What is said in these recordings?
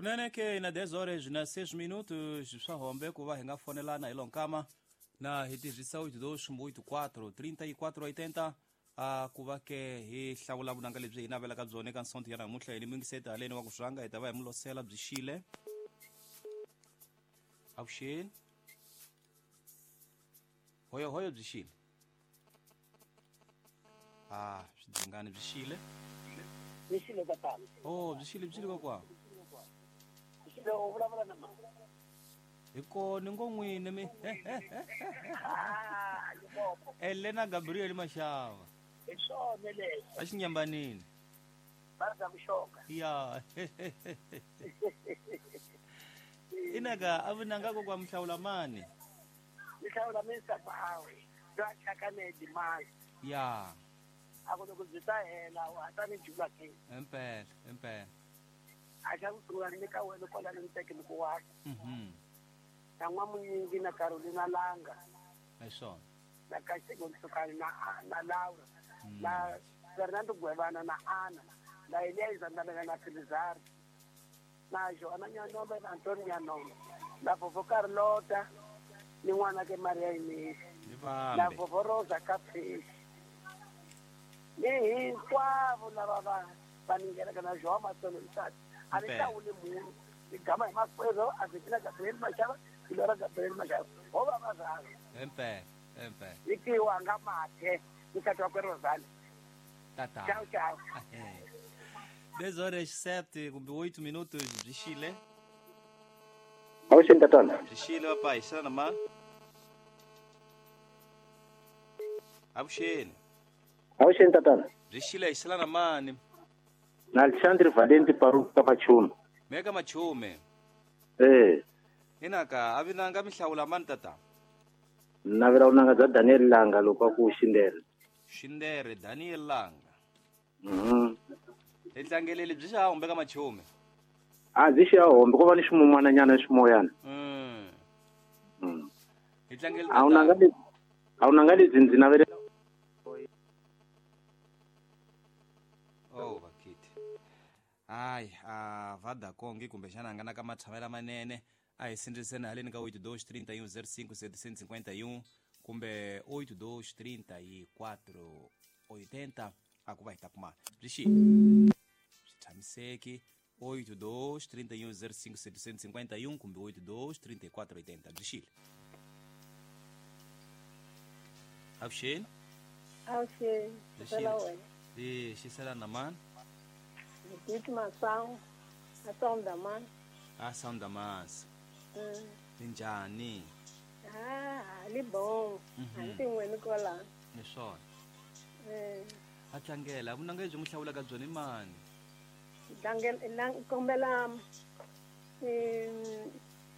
Kunene ke na 10 horas na 6 minutos swa hombe ku va hi nga fonelana hi lonkama na hi tirhisa 8284 3480 a ku va ke hi hlawula vunanga lebyi hi navelaka byona eka nsonto ya namuntlha hi ni mingiseti haleni wa ku swanga hi ta va hi mulosela byi xile avuxeni hoyohoyo byi xile a swidzingani byi xile Byi xile tatana. Oh, byi xile byi xile kokwa. Byi xile u vulavula na mani? Hi kona ngo n'wini mi. Ah, Limpopo. Elena Gabriel Mashava. Hi swona leswi. A xinyambanini. Va za ku xoka. Ya. Inaka a vunanga kokwa mihlawula mani? Mihlawula Mr. Bawe. Lwa chakane dimali. Ya. A ku loko byi ta hela wa ta ni jula ke. Impela, impela. A xa ku sungula ni ka wena kwala ni teke ni ku wa. Na n'wamunyingi na Carolina Langa. Hi swona. Na Kasego Nsukani na na Laura. Na Fernando Gwevana na Ana. Na Eliza Ndabela na Filizari. Na Joana Nyanombe na Antonio Nyanombe. Na Vovó Carlota ni n'wana ke Maria Inês. Ni Na vambe. Vovó Rosa Capricho. Ni hinkwavo lava va va ningelaka na João Matsolo Nsati. A ni Impela. hlawuli munhu. Ni gama hi makwerhu Argentina Gabriel Mashava, Ilora Gabriel Mashava. Ho va va rhandza. Impela, impela. Ni tiwa nga mathe nsati wakwe Rosali. Tata. Ciao ciao. 10 horas 7 kumbe 8 minutos byi xile. Avuxeni tatana. Byi xile papai, xana na mani? Avuxeni. Avuxeni tatana. Byi xile hi xela na mani? Na Alexandre Valenti Paruka Machume. Meka Machume. Eh, Inaka a vinanga mihlawula mani tata? navela vunanga bya Daniel Langa loko a ku Xindere. Xindere Daniel Langa. Hi tlangeleli byi xa humbe ka Machume. A byi xa hombe ko va ni ximumana nyana ximoyana. Hi tlangeli A wunanga lebyi a wunanga lebyi ndzi navelela Oh vakiti. Hayi, a Vodacom kumbexana a nga na ka matshamela manene a hi sindziseni haleni ka 82 31 05 751 kumbe 82 34 80 a ku va hi ta kuma byi xi swi tshamiseki 82 31 05 751 kumbe 82 34 80 byi xile avuxeni Avuxeni, Byi xisela xile. wena. E xisela na mani Judith Masango, Asondaman. a Sandamasi minjhani Ah, li bom. A tin'weni kwala. Ni swona a tlangela vunanga lebyi n'wi hlawulaka byona i mani Tlangela kombela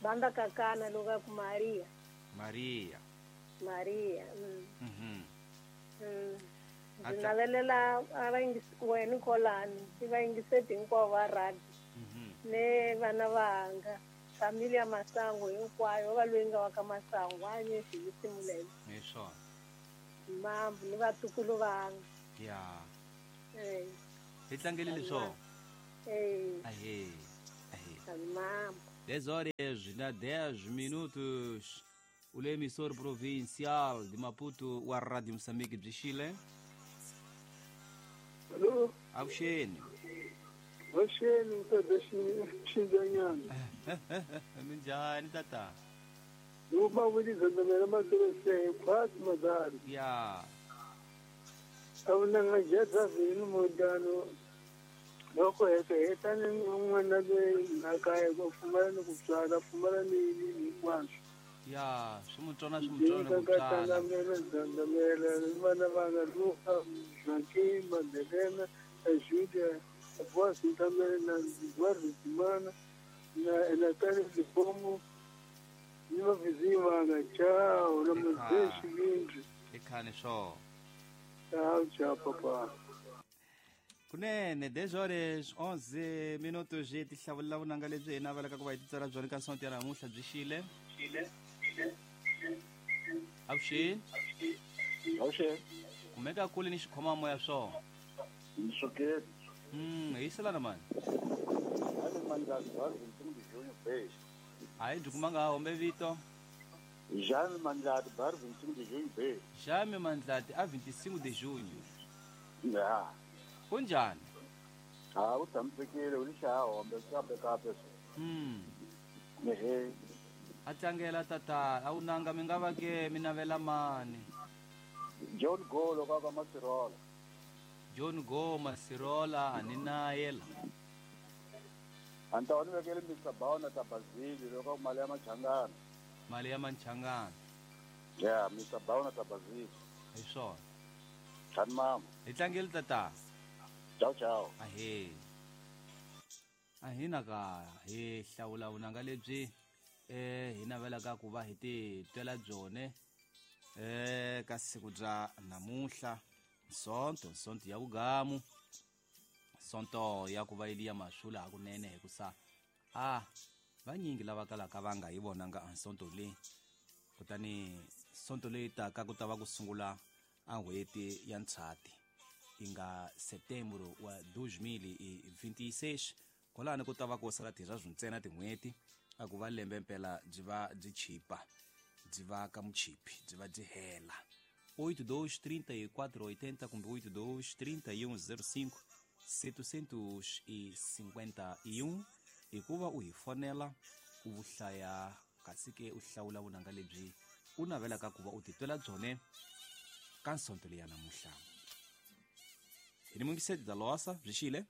banda kakana loko a ku Maria. Maria Maria. A Ndzi navelela a vayingisi wena kwalani, i vayingiseti hinkwavo va radio. Ne vana vanga familia Masango hinkwayo va loyi nga wa ka Masango a nyesi hi simulela Hi swona. Mambu ni vatukulu vanga. Ya. Hi tlangelile swona. Ahe. Ahe. Mambu. 10 horas na 10 minutos. O emissor provincial de Maputo, wa Rádio Moçambique byi xile. Alô? Avuxeni. Avuxeni mtata Xindzanyana. Minjhani tata? Uma wili zandamela matirese khwati madari. Ya. Awunanga jatha vini mudano. Loko heta heta ni n'wana loyi nakaya ku pfumala ni ku tswala pfumala ni hinkwaswo. Ya, swi n'wi tsona swi n'wi tsona ku tswala. Zandamela zandamela vana vanga Luka, Joaquim, Madalena, Julia, Voz Ntamela na Eduardo Dimana na Natália Lipomo ni vavizinho vanga tchau na muzeshi vingi. I khani swona. Tchau, tchau, papa. Kunene 10 horas 11 minutos hi tihlawulela vunanga lebyi hi navelaka ku va hi titsala byona ka sonto ya namuntlha byi xile. Avuxeni. Avuxeni. Kumeka kule ni xikhoma moya swona. Ni sukile. Hi selana mani. Hali mani Mandlati bar 25 de junho B. A hi byi kumanga hombe vito. Jaime Mandlati bar 25 de junho B. Jaime Mandlati a 25 de junho. Ya. Kunjani? Ha u tshamisekile u lixa hombe kape kape. Ehe. A tlangela tata a wu nanga mi nga va ke mi navela mani. John Golo ka ka Masirola. John Go Masirola a ni na yela. Anta wani vekele Mr. Bauna ta Bazili loko mali ya machangana. Mali ya machangana. Yeah, Mr. Bauna ta Bazili. Hi swona. Tani mama. Hi tlangele tata. Ciao ciao. Ahe. Ahina ka hi hlawula vunanga lebyi hi navelaka ku va hi ti twela byone ka siku bya namuhla sonto sonto ya vugamu sonto ya ku va yi ya masula hakunene hikusa a vanyingi lava kalaka va nga yi vonanga a sonto leyi kutani sonto leyi taka ku ta va ku sungula a n'hweti ya Ndzhati yi nga setembro wa 2026 kwalano ku ta va ku sala tirha ntsena tin'hweti a ku va lembe mpela byi va byi chipa byi va ka muchipi byi va byi hela 82 34 80 kumbe 82 31 05 751 hikuva u hi fonela u vuhlaya kasi ke u hlawula vunanga lebyi u navelaka ku va u titwela byone ka nsonto leyi ya namuhla. Hi ni mungiseti Dalosa byi xile.